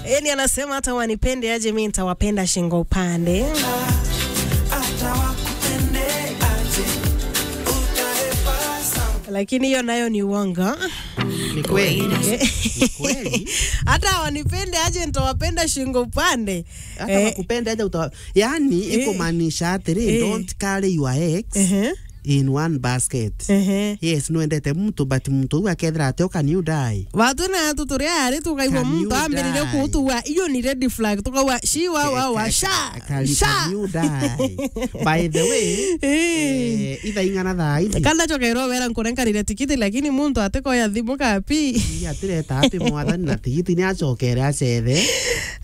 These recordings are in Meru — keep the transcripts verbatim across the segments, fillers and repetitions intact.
Eni anasema hata wanipende aje, mi nitawapenda shingo upande. Hata wakupende aje, utahepa sana. Lakini hiyo nayo ni uongo. Ni kweli. Ni kweli. Hata wanipende aje, nitawapenda shingo upande. Hata Eh. wakupende aje, uta-, yani, Eh. ikumaanisha atiri, Eh. don't carry your eggs Ehe. in one basket. Ehe. Yes, nwendete muntu, but muntu uu akethira ati, "Oh, can you die?" Watu na atu turi ari tukaigua Can muntu you ambiririe die? kutuwa, iyo ni red flag, tukawa, "Shi wa, wa, wa, Ka-, sha, ka-, can, sha." can you die? By the way, Eh. eh, itha ing'ana thaa ici. Kana chokerwo wera nkurenkanire tikiti, lakini muntu atikoya thimu kapi. Ii, atireta api mwathani na tigiti ni achokere acethe.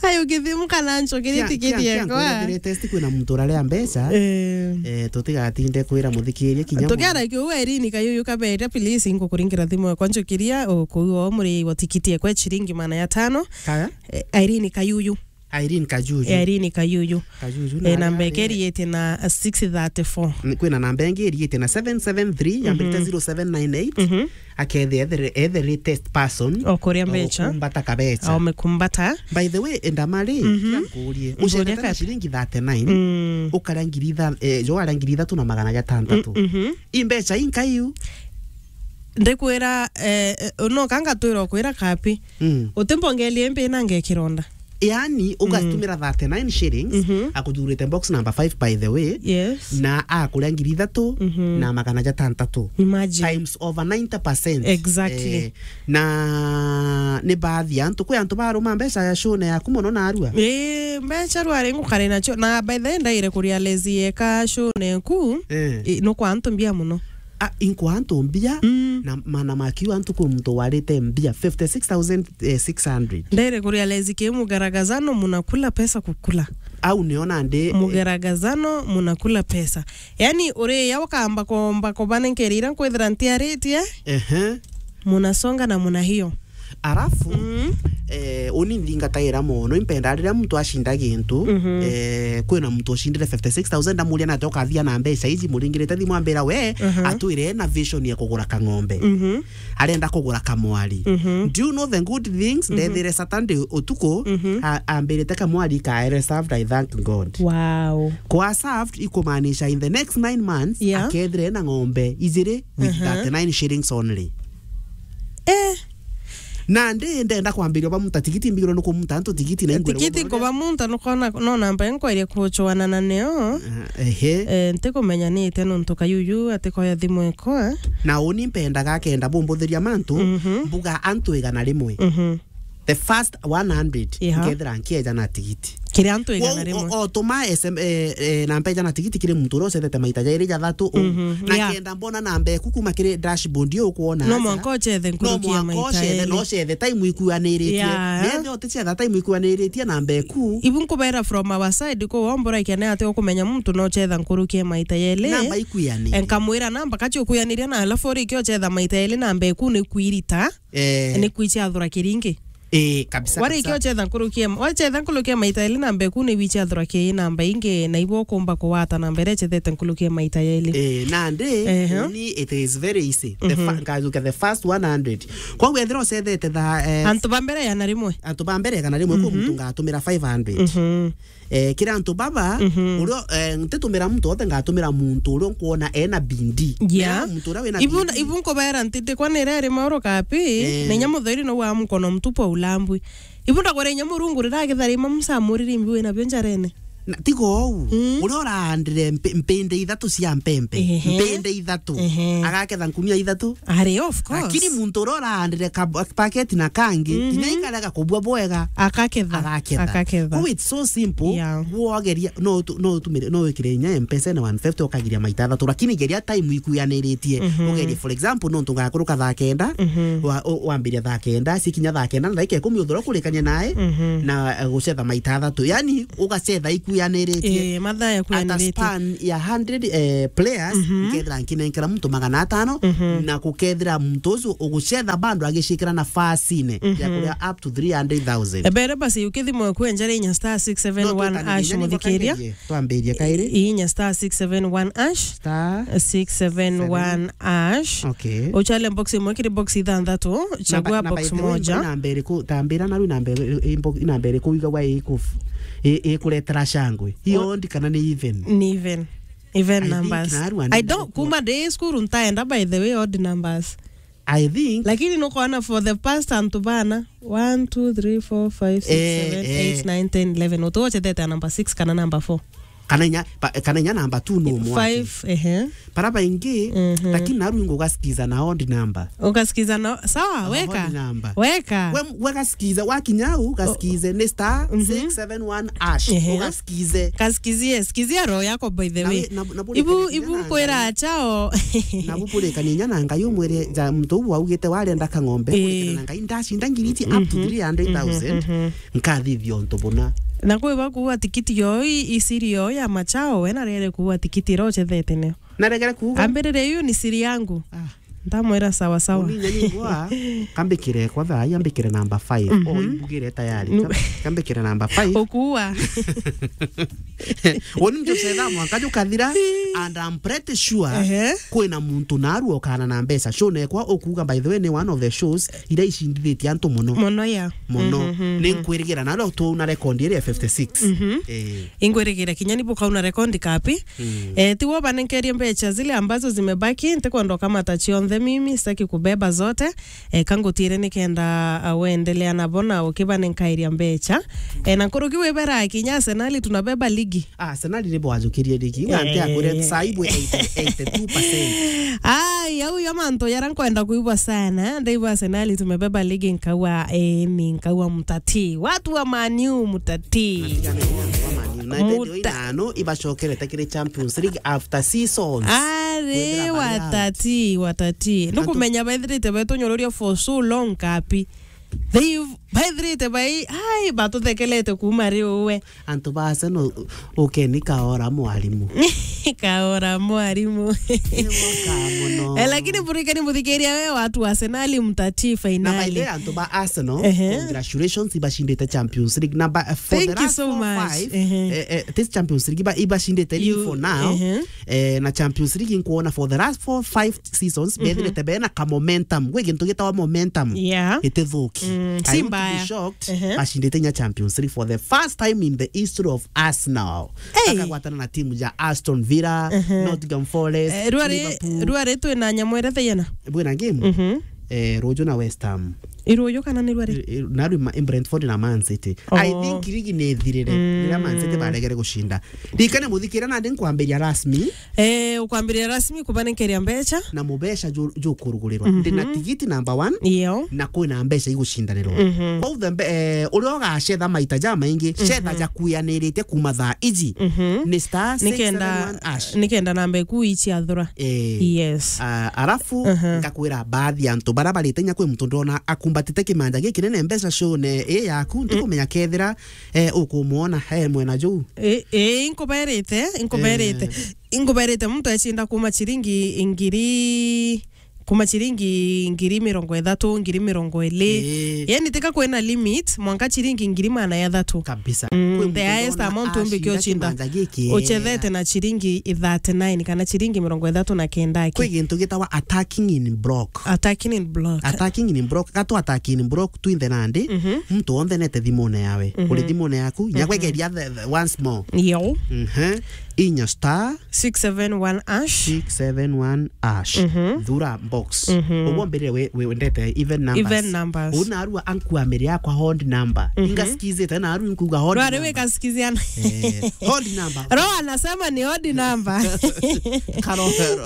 Ayo githimu kana nchokerie Kia, tikiti kia, kia yekwa. nkuria test kwina muntu uraria mbeca. Eh. Eh, tutigatinde kwira muthikiria kinya Tukiara kiu Irene Kayuyu Kabete, please, ngukuringira thimu yakwa njukiria, o, kuu o muri wa tikiti ekwa ciringi magana ya tano. Kaya? Eh, Irene Kayuyu. Irene Kajuju. Eh, Irene Kayuyu. Kajuju Eh, na namba aria eke iriite na six thirty-four. N-, kwina namba ingi iriite na seven seven three, yambirite Mhm. zero seven nine eight. Mhm. Akethia ethere, ethere test person. O kuria mbeca. Okumbata kabeca. Omekumbata. By the way, endamari, Mhm. kira nkurie. Nkurie Ucethete na kati. ciringi thirty-nine, Mm. ukaria ngiri itha-, eh, jo aria ngiri ithatu na magana jatantatu. Mm, mhm. I mbeca inka iu? Ndikwira, eh, eh, no kanga twira kwira kapi. Mm. Utimbongelie mbi na ngekironda. Yani, Mm. ugatumira thirty-nine shillings, Mhm. akuthurite box number five, by the way, Yes. na akuria ngiri ithatu Mhm. na magana jatantatu. Imagine. Times over ninety percent. Exactly. Eh, na ni baadhi ya antu, kwi antu baruma mbeca ya shone yaku mono narua. Eh, mbeca rwari ngukare nacio. Na by the way, ndaire kuria lezi yeka shone ku, Eh. eh, no kwa antu mbia mono. Ah, inkwa antu mbia, Mm. na mana makiu antu kwi muntu warite mbia fifty-six thousand six hundred. Ndaire kurealize ki mugaragazano munakula pesa kukula. Au niona ndi, eh, Mugaragazano munakula pesa. Yani, uriya ukamba komba kubanenkera ira nkwithira ntiaritie, Ehe. munasonga na muna hiyo. Arafu, Mm. eh, uni nthingataira mono, impenda riria muntu acinda gintu, Mhm. eh, kwina muntu ucindire fifty-six thousand, ndamuria nate ukathia na mbeca iji, muringirite thimu ambira we, Mhm. atwire ena vision ya kugura kang'ombe. Mhm. Arenda kugura kamwari. Mhm. Do you know the good things? Mhm. Ndethire Saturday utuku, Mhm. a-, ambirite kamwari kaere served, I thank God. Wow. Kwa served, ikumaanisha in the next nine months, Yeah. akethire na ng'ombe ijiri with Mhm. thirty-nine shillings only. Eh. Na ndi ndenda kwambiria bamuta tigiti, mbigirwe ni kumuta antu tigiti na ingwire Tigiti bubone. Nkubamunta nukona no namba enkwaire kuchuana na neo. Ah, ehe. Eh, ntikumenya ni ite nontu Kayuyu atikoya thimu ekwa. Na uni mpendaga akenda bumbuthiria mantu, Mhm. mbuga antu igana rimwe. Mhm. The first one hundred, Yeah. nkethira nkieja na tigiti. Kiri antu igana Kwou, rimwe. O, o, tuma S M, eh, eh, namba ija na tigiti kiri muntu uria ucethete maita jairi jathatu u. Mhm, Na yeah. kenda mbona namba eku kuma kiri dashboard iyo ukuona No aja. mwanka ucethe No nkuruki ya mwanka maita ucethe, eri. no ucethe time ikuaniritie. Yeah. Nethe uticetha time ikuaniritie namba eku. Ibu nkubera from our side, ko wombora ikene ati ukumenya muntu no ucetha nkuruki ya maita yeli. Namba ikuiani. Enkamwira namba kachi ukuianiria na alafu uriki ucetha maita yeli namba eku ni kwirita. Eh. Ni kwichi athura kiringi. Eh, kabisa, Wari kabisa. ikio chetha nkuruki ya, wari chetha nkuruki ya maita eli namba eku ni wichi athura ki namba ingi, na ibo ukumba kuwata namba iria chethete nkuruki ya maita eli. Eh, nandi, Ehe. uni it is very easy. The Mhm. fa-, ngajuka the first one hundred. Kwa wethira ucethete tha, eh, Antu ba mbere igana rimwe. antu ba mbere igana rimwe, kwi Mhm. muntu ngatumira five hundred. Mhm. Eh, kiri antu baba, Mhm. uria, eh, ntitumira muntu wothe, ngatumira muntu uria nkwona ena bindi. Yeah. Ena muntu uria wina Ibu, bindi. ibu nkubera nti ndikwa nire ri mauro kapi, Eh. na inya mutheri no wa mkono mtupu wa ulambwi. Ibu ndagwira inya Murungu rira agithari ima musamuriri mbi wina bio njarene. Na, tiga ou, Mm. uria uraandire mpe-, mpinde ithatu cia mpempe. Ehe. Mpinde ithatu. Ehe. Agaketha nkunia ithatu. Are, of course. Lakini muntu uria uraandire ka-, paketi na kangi, Mhm. kinya ikarega kubua bwega. Akaketha. Agaketha. Akaketha. Kwou it's so simple. Yeah. Wogeria, no utu-, no utumire, no wikire inya M-Pesa na one fifty ukagiria maita athatu, lakini geria time ikuyaniritie. Mhm. Ugerie, for example, nontu ngakuruka thaa kenda, Mhm. wa-, u-, wambiria thaa kenda, cikinya thaa kenda na ndagika ikumi uthura kurikania nae, Mhm. na, eh, gucetha maita athatu. Yani, ugacetha iku Kuyaniritie. Eh, mathaa ya at a kuyaniritie. Span ya hundred, eh, players, mhm, nkethira nkinenkera muntu magana atano, mhm, na kukethira muntu ucio ugucetha bado agicikira nafasine ya, mhm, kuria up to three hundred thousand. Ebere basi ukithimwa kwenjera inya star six seven one hash, muthikiria. Twambirie kairi. Inya star six seven one hash. Star six seven one hash. Okay. Uchale box imwe kiri box ithanthatu, chagua box moja. Namba iriku, tambira naru namba iri-, i-, i-, namba iriku igagwa iku-, i-, ikuretera shangwe. Hiyo odd kana ni even? Ni even. Even numbers. I think naru and I don't, kuma day school ntaenda, by the way, odd numbers. I think. Lakini nukwona for the past antu bana, one, two, three, four, five, six, eh, seven, eh, eight, nine, ten, eleven. Utuochethete a number six kana number four. Kana inya, pa-, kana inya namba two no mwa. Five, ehe. Bara baingi, mhm, lakini naru ingo ugasikiza na odd number. Ugasikiza na, sawa, na weka. Odd number. Weka. We, we gasikiza, wakinya u, gasikize ni star, mhm, six seven one hash. Ehe. Ugasikize. Kasikizie, sikizia roho yako, by the way. Na we, na, na bure kania kinya na Ngai. Ibu, ibu kwira achao. Na bupurikania inya na Ngai umwire, ja, muntu uu augite warenda kang'ombe, eh, kurikana na Ngai ndacinda ngiri iji up to, mhm, three hundred thousand. Mhm, mhm. Nkathithia untu buna. Na kwi ba kuua tikiti yo i-, isiri yo ya machao, we narere kuua tikiti ira uchethete nio. Naregere kuuga? Ambirire, "Hiyo ni siri yangu." Ah. Ndamwira, "Sawa, sawa." Uni nyani ngwa, kambikire kwa thaa, ambikire namba five. Mhm. O imbugire tayari. Nu- Kam-, kambikire namba five. Ukuua. Uni mtu cetha mwanka jukathira, and I'm pretty sure, ehe, kwina muntu naru okana na mbeca. Show nekwa ukuuga, by the way, ni one of the shows iria icindithĩtie antu mono. Mono, ya. Mono. Mhm, mhm, mhm. Ninkwirigira nalo tu na record iria ya fifty-six. Mhm. Eh. Ingwirigira kinya ni bukauna record kapi. Mm. Eh, tiwo banenkerie mbecha zile ambazo zimebaki, ntikwenda ukamata cionthe mimi, sitaki kubeba zote. Eh, kangutire nikenda, ah, wendelea nabo na ukibanenkairia mbecha. Eh, na nkuruki wibera kinya Arsenal tunabeba ligi. Ah, Arsenal ni bwajukirie ligi. Ngante, eh, akure sai bwe eighty, eighty-two percent. Ai, au ya mantu yara nkwenda kuigua sana. Ndaigua Arsenal tumebeba ligi nkaua, eh, ni nkaua mutati. Watu wa Man U mutati. Natigane na Man U. United muta- ino ibacokerete kiri Champions League after seasons. Ari kwithira bari out. Watati, watati. Antu- nukumenya baithirite betunyururia for so long kapi. They baithirite bai, ai, batuthekelete kuma riu we. Antu ba Arsenal, u-, ukeni kaora mwarimu. Kaora mwarimu. Ni mwaka muno. Eh, lakini burikani muthikiria we watu wa Arsenal mutati finali. Na by the way, antu ba Arsenal, ehe, congratulations, ibacindite Champions League. Na ba, for the last four, five, thank you so much. Ehe. Eh, eh, this Champions League, iba, ibacindite league for now. Ehe. Eh, na Champions League nkuona for the last four, five seasons, mhm, bethirite bena ka momentum. Gwi gintu gitawa momentum. Yeah. Itithuki. Mm, I wouldn't be shocked, ehe, bacindite inya Champions League for the first time in the history of Arsenal. Hey. Bakagwatana na timu ja Aston Villa, ehe, Nottingham Forest, eh, rwari, Liverpool. Rwari twina nyamu iria thaiyana? Bwina game? Mhm. Eh, ruju na West Ham. I ruju kana ni rwari? I, i, na rwi ma-, Brentford na Man City. I think ligi ni ithirire, mm, riria Man City baregere gucinda. Rikane muthikire nandi nkwambiria rasmi. Eh, ukwambiria rasmi kubanenkeria mbecha. Na mubeca ju-, jukurugurirwa. Mhm. Ndina tigiti number one. Iyo. Na kwina mbeca igucindanirwa. Mhm. Kwou the mbe-, eh, uria ugacetha maita jamaingi, mhm, cetha jakuyaniritie kuma thaa iji. Mhm. Ni star six seven one hash. Nikenda, nikenda namba iku ici athura. Eh. Yes. Ah, arafu, mhm, ngakwira baadhi ya antu bara barite inya kwi muntu ndona akumbatite kimanja gikinene mbeca shone i yaku, mm, ndikumenya kethira, eh, ukumwona he mwena juu. Eh, eh, inkuberite, inkuberite. Eh. Inkuberite muntu ecinda kuma ciringi ngiri, kuma ciringi ngiri mirongo ithatu, ngiri mirongo iri. Eh. Yani tika kwina limit, mwanka ciringi ngiri magana jathatu. Kabisa. Mm, kwi muntu the highest ndona amount umbikia acinda ucinda kimanja giki uchethete na ciringi thirty-nine kana ciringi mirongo ithatu na kenda aki. Kwi gintu gitawa attacking in block. Attacking in block. Attacking in block. Gatu attacking in block twinthe nandi. Mhm. Muntu onthe nete thimune yawe. Mhm. Uri thimune yaku, mhm, nyakwegeria the, the once more. Yo. Mhm. Inya star six seven one hash. Six seven one hash. Mhm. Thura box. Mhm. Uguo mbirire we, we wendete even numbers. Even numbers. Una arua ankuamire yakwa odd number. Mhm. Ingasikizite na arua inkuga odd number. Rwari wikasikiziana. Eh, odd number. Roho anasema ni odd number. Karo,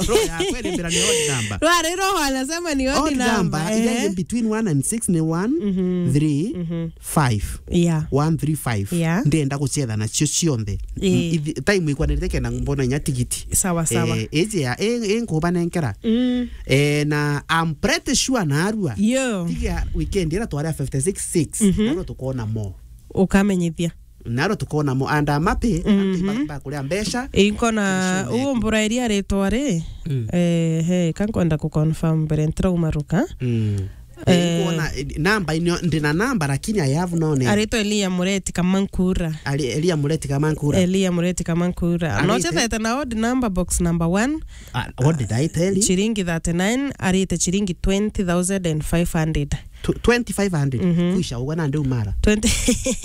roho ya kweli mbira ni odd number. Rwari roho anasema ni odd number. Odd number, ila, eh, iri between one and six ni one, mhm, three, mhm, five. Yeah. One three five. Yeah. Ndenda gucetha nacio cionthe. Eh. Ithi-, time ikwanirite kenda mbona inya tigiti. Sawa, sawa. Eh, iji ya, i, i nkubanenkera. Mm. Eh, na I'm pretty sure narua. Yo. Tiga weekend ira twari fifty-six six. Mhm. Narua tukona mo. Ukamenyithia. Naro tukona mo and I'm happy, Mhm. Ba, ba kuria mbeca. Inkona Tushone. Uo mbura iria ritwa ri. Mm. Eh, he, ka nkwenda ku confirm mbere ntirauma ruka. Mm. Eh. Nkuona, eh, namba inyo, ndina namba lakini I have no name. Aritwa Elia Mureti Kamankura. Ali-, Elia Mureti Kamankura. Elia Mureti Kamankura. Arite? No chethete na odd number, box number one. Ah, what did I tell you? Chiringi thirty-nine, arite chiringi twenty thousand and five hundred. Tw-, twenty-five hundred. Mhm. Kwisha ugwe na ndi umara. Twenty.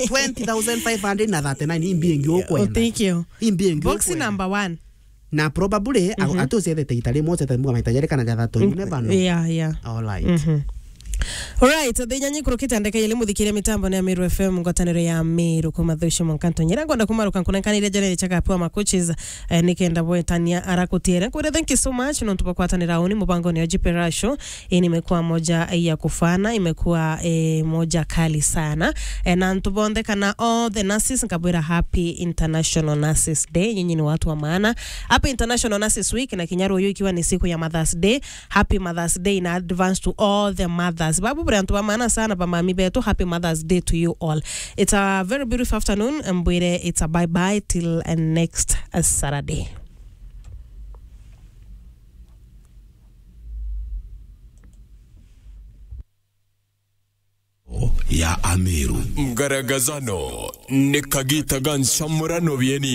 Twenty thousand five hundred na thirty-nine, imbi ingi ukwenda. Utikio. Imbi ingi Box ukwenda. Number one. Na probably, a-, Mhm. ati ucethete ita rimwe, ucethete muga maita jeri kana jathatu, you never know. Yeah, yeah. All right. Mhm. All right, thaa inya nyikurukite ndeka ile muthikiria mitambo ni Amiru F M, ngwataniro ya Amiru kuma Thucio Monkanto. Nyira ngwenda kumaruka nkunenkanire jere chaka pua makuchis, eh, nikenda bwetania arakutiere. Kwire, thank you so much, nontu bwa kwatanira uni mubango ni Ojipe Rasho. Hii nimekuwa moja ya kufana, imekuwa, eh, moja kali sana. Eh, na antu bonthe kana all the nurses, nkabwira happy International Nurses Day. Nyinyi ni watu wa maana. Happy International Nurses Week, na kinya ruyu ikiwa ni siku ya Mother's Day. Happy Mother's Day in advance to all the mothers. Babu bure antu ba maana sana, ba mami betu, happy Mother's Day to you all. It's a very beautiful afternoon, mbwire it's a bye bye till, uh, next, uh, Saturday. Ya Ameru. Ngaragazano ni kagita ga ncamurano bieni.